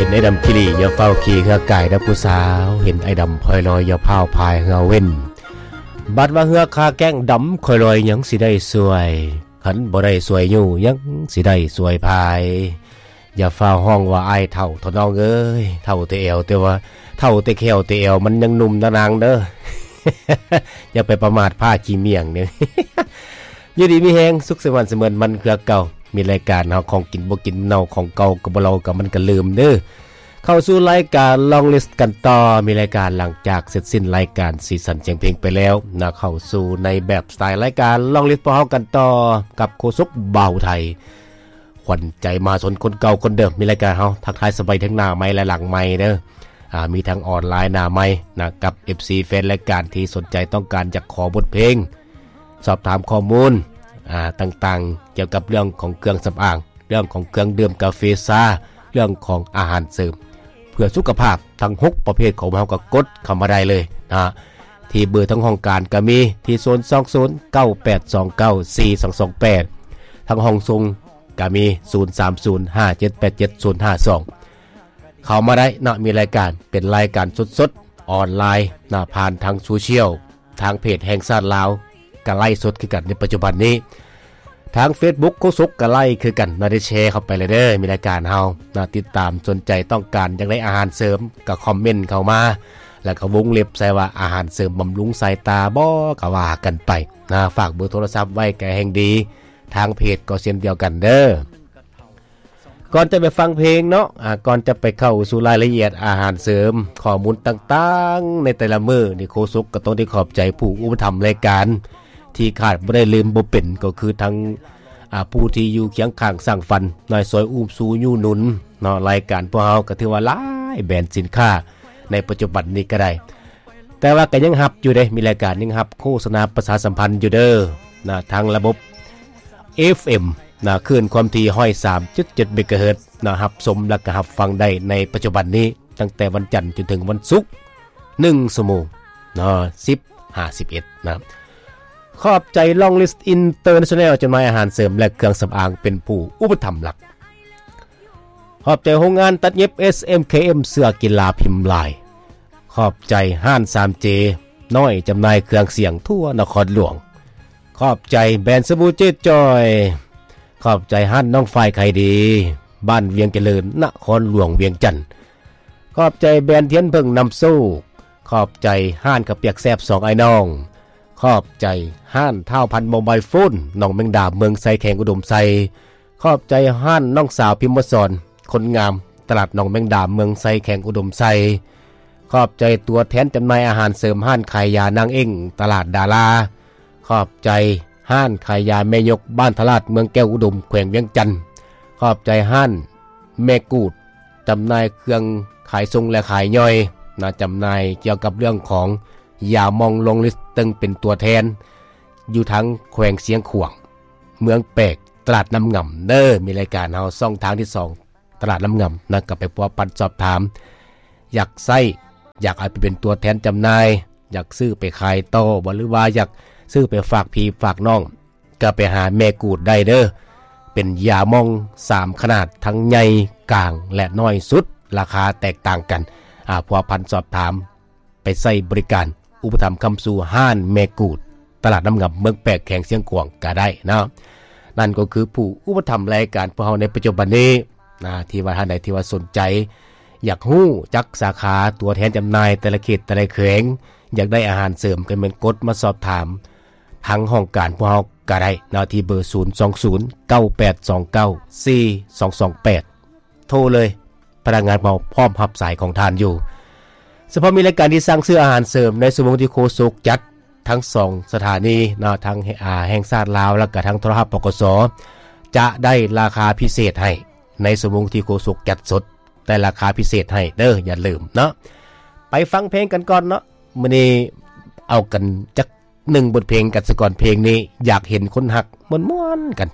ເຫັນອ້າຍດຳຂີ້ຫຼີ້ ຢ່າຟ້າວຂີ່ເຮືອກາຍເດີຜູ້ສາວ, ເຫັນອ້າຍດຳພອຍລອຍ ຢ່າພ້າວພາຍເຮືອເວັນ. ບັດວ່າເຮືອຄາແກ້ງດຳ ຂ້ອຍລອຍຍັງຊິໄດ້ຊ່ວຍ, ຄັນບໍ່ໄດ້ຊ່ວຍຍູ້ ຍັງຊິໄດ້ຊ່ວຍພາຍ. ຢ່າຟ້າວຮ້ອງວ່າອ້າຍເຖົ້າເຖາະນ້ອງເອີຍ, ເຖົ້າແຕ່ແອວ ແຕ່ວ່າເຖົ້າແຕ່ແຂ້ວແຕ່ແອວ ມັນຍັງໜຸ່ມນະນາງເດີ. ຢ່າໄປປະໝາດພ້າຂີ້ໝ້ຽງເດີ. ຢູ່ດີມີແຮງ ສຸກສະໝານສະເໝີນມັນຄືເກົ່າ. ມີລາຍການເຮົາ ຂອງກິນບໍ່ກິນເນົ່າ ຂອງເກົ່າກໍບໍ່ເລົ່າ ກໍມັນກໍລືມເດີ. ເຂົ້າສູ່ລາຍການ Long List ກັນຕໍ່. ມີລາຍການຫຼັງຈາກເສັດສິ້ນລາຍການສີສັນສຽງເພງໄປແລ້ວນະ, ເຂົ້າສູ່ໃນແບບສະໄຕລາຍການ Long List ພວກເຮົາກັນຕໍ່ກັບໂຄສົກບ່າວໄທ ຂວັນໃຈມະຫາຊົນຄົນເກົ່າຄົນເດີມ. ມີລາຍການເຮົາ ທັກທາຍສະບາຍທັງໜ້າໄມ ແລະ ຫຼັງໄມເດີ. ອາ ມີທັງອອນລາຍໜ້າໄມນະ ກັບ ເອັຟຊີ ແຟນລາຍການທີ່ສົນໃຈຕ້ອງການຢາກຂໍບົດເພງ, ສອບຖາມຂໍ້ມູນ ອາ ຕ່າງໆ ກ່ຽວກັບເລື່ອງຂອງເຄື່ອງສຳອາງ, ເລື່ອງຂອງເຄື່ອງດື່ມກາເຟຊາ, ເລື່ອງຂອງອາຫານເສີມເພື່ອສຸຂະພາບ ທັງຫົກປະເພດຂອງເຮົາ ກໍກົດເຂົ້າມາໄດ້ເລີຍນະ. ທີ່ເບີທາງຫ້ອງການກໍມີທີ່ ສູນສອງສູນ ເກົ້າແປດສອງເກົ້າ ສີ່ສອງສອງແປດ, ທາງຫ້ອງສົ່ງກໍມີ ສູນສາມສູນ ຫ້າເຈັດແປດເຈັດ ສູນຫ້າສອງ. ເຂົ້າມາໄດ້ເນາະ, ມີລາຍການ ເປັນລາຍການສົດໆ ອອນລາຍນະ ຜ່ານທາງໂຊຊຽວ, ທາງເພຈແຫ່ງຊາດລາວ ກະໄລຟ໌ສົດຄືກັນໃນປັດຈຸບັນນີ້. ທາງເຟສບຸກໂຄສົກກະໄລຟ໌ຄືກັນເນາະ, ໄດ້ແຊເຂົ້າໄປເລີຍເດີ. ມີລາຍການເຮົານະ ຕິດຕາມ ສົນໃຈຕ້ອງການຢາກໄດ້ອາຫານເສີມ ກະຄອມເມັນເຂົ້າມາ ແລ້ວກະວົງເລັບໃສ່ວ່າ ອາຫານເສີມບຳລຸງສາຍຕາບໍ ກະວ່າກັນໄປນະ. ຝາກເບີໂທລະສັບໄວ້ກະແຮ່ງດີ, ທາງເພຈກໍເຊັ່ນດຽວກັນເດີ. ກ່ອນຈະໄປຟັງເພງເນາະ ອາ ກ່ອນຈະໄປເຂົ້າສູ່ລາຍລະອຽດອາຫານເສີມ, ຂໍ້ມູນຕ່າງໆໃນແຕ່ລະມື້ນີ້ ໂຄສົກກໍຕ້ອງໄດ້ຂອບໃຈຜູ້ອຸປະຖຳລາຍການ ທີ່ຂາດບໍ່ໄດ້ລືມບໍ່ເປັນ ກໍຄືທັງ ອາ ຜູ້ທີ່ຢູ່ຄຽງຂ້າງສ້າງຝັນ, ນາຍຊອຍອູ້ມຊູຍູ້ໜູນເນາະ. ລາຍການພວກເຮົາກໍຖືວ່າຫຼາຍແບຣນສິນຄ້າໃນປັດຈຸບັນນີ້ກໍໄດ້ ແຕ່ວ່າກໍຍັງຮັບຢູ່ເດ້, ມີລາຍການຍັງຮັບໂຄສະນາປະຊາສຳພັນຢູ່ເດີນະ, ທາງລະບົບ ເອຟເອັມ ນະ ຄື້ນຄວາມຖີ່ ຮ້ອຍສາມຈຸດເຈັດ ເມກາເຮີດ ນະ, ຮັບຊົມ ແລະ ກໍຮັບຟັງໄດ້ໃນປັດຈຸບັນນີ້ ຕັ້ງແຕ່ວັນຈັນຈົນເຖິງວັນສຸກ ໜຶ່ງຊົ່ວໂມງນະ, ສິບ ຫາ ສິບເອັດ ນະ. ຂອບໃຈ Long List International ຈຳໜ່າຍອາຫານເສີມ ແລະ ເຄື່ອງສຳອາງ ເປັນຜູ້ອຸປະຖຳຫຼັກ. ຂອບໃຈໂຮງງານຕັດເຢັບ ເອສເອັມເຄເອັມ ເສື້ອກິລາພິມລາຍ. ຂອບໃຈຮ້ານ ສາມເຈ ນ້ອຍ ຈຳໜ່າຍເຄື່ອງສຽງທົ່ວນະຄອນຫຼວງ. ຂອບໃຈແບຣນສະບູເຈດຈອຍ. ຂອບໃຈຮ້ານນ້ອງຝ້າຍຂາຍດີ ບ້ານວຽງຈະເລີນ ນະຄອນຫຼວງວຽງຈັນ. ຂອບໃຈແບຣນທຽນເຜິ້ງນຳໂຊກ. ຂອບໃຈຮ້ານເຂົ້າປຽກແຊບສອງອ້າຍນ້ອງ. ຂອບໃຈຮ້ານທ້າວພັນໂມບາຍໂຟນ ໜອງແມງດາ ເມືອງໄຊ ແຂວງອຸດົມໄຊ. ຂອບໃຈຮ້ານນ້ອງສາວພິມມະສອນ ຄົນງາມ ຕະຫຼາດໜອງແມງດາ ເມືອງໄຊ ແຂວງອຸດົມໄຊ. ຂອບໃຈຕົວແທນຈຳໜ່າຍອາຫານເສີມ ຮ້ານຂາຍຢານາງເອັ້ງ ຕະຫຼາດດາລາ. ຂອບໃຈຮ້ານຂາຍຢາແມ່ຍົກ ບ້ານທະລາດ ເມືອງແກ້ວອຸດົມ ແຂວງວຽງຈັນ. ຂອບໃຈຮ້ານແມ່ກູດ ຈຳໜ່າຍເຄື່ອງຂາຍສົ່ງ ແລະ ຂາຍຍ່ອຍນະ, ຈຳໜ່າຍກ່ຽວກັບເລື່ອງຂອງຢາໝອງ Long List ເຊິ່ງເປັນຕົວແທນຢູ່ທາງແຂວງຊຽງຂວາງ ເມືອງແປກ ຕະຫຼາດນ້ຳງຳເດີ. ມີລາຍການເຮົາຊ່ອງທາງທີສອງ ຕະຫຼາດນ້ຳງຳນະ, ກໍໄປພົວພັນສອບຖາມ ຢາກໃຊ້ ຢາກເອົາໄປເປັນຕົວແທນຈຳໜ່າຍ, ຢາກຊື້ໄປຂາຍຕໍ່ບໍ ຫຼືວ່າຢາກຊື້ໄປຝາກພີ່ຝາກນ້ອງ ກໍໄປຫາແມ່ກູດໄດ້ເດີ. ເປັນຢາໝອງສາມຂະໜາດ, ທັງໃຫຍ່, ກາງ ແລະ ນ້ອຍສຸດ, ລາຄາແຕກຕ່າງກັນ. ອາ ພົວພັນສອບຖາມ ໄປໃຊ້ບໍລິການ ອຸປະຖຳຄ້ຳຊູຮ້ານແມ່ກູດ ຕະຫຼາດນ້ຳງຳ ເມືອງແປກ ແຂວງຊຽງຂວາງກໍໄດ້ເນາະ. ນັ້ນກໍຄືຜູ້ອຸປະຖຳລາຍການພວກເຮົາໃນປັດຈຸບັນນີ້ນະ, ທີ່ວ່າທ່ານໃດທີ່ວ່າສົນໃຈ ຢາກຮູ້ຈັກສາຂາ ຕົວແທນຈຳໜ່າຍແຕ່ລະເຂດແຕ່ລະແຂວງ, ຢາກໄດ້ອາຫານເສີມ ກໍແມ່ນກົດມາສອບຖາມທາງຫ້ອງການພວກເຮົາກໍໄດ້ເນາະ, ທີ່ເບີ ສູນສອງສູນ ເກົ້າແປດສອງເກົ້າ ສີ່ສອງສອງແປດ. ໂທເລີຍ, ພະນັກງານເຮົາພ້ອມຮັບສາຍຂອງທ່ານຢູ່. ສະເພາະມີລາຍການທີ່ສັ່ງຊື້ອາຫານເສີມໃນຊົ່ວໂມງທີ່ໂຄສົກຈັດ ທັງສອງສະຖານີເນາະ, ທັງ ອາ ແຫ່ງຊາດລາວ ແລ້ວກະທັງໂທລະທັດ ປກສ ຈະໄດ້ລາຄາພິເສດໃຫ້ໃນຊົ່ວໂມງທີ່ໂຄສົກຈັດສົດ, ແຕ່ລາຄາພິເສດໃຫ້ເດີ, ຢ່າລືມເນາະ. ໄປຟັງເພງກັນກ່ອນເນາະ, ມື້ນີ້ເອົາກັນຈັກ ໜຶ່ງບົດເພງກັນສາກ່ອນ. ເພງນີ້ຢາກເຫັນຄົນຮັກມ່ວນໆກັນ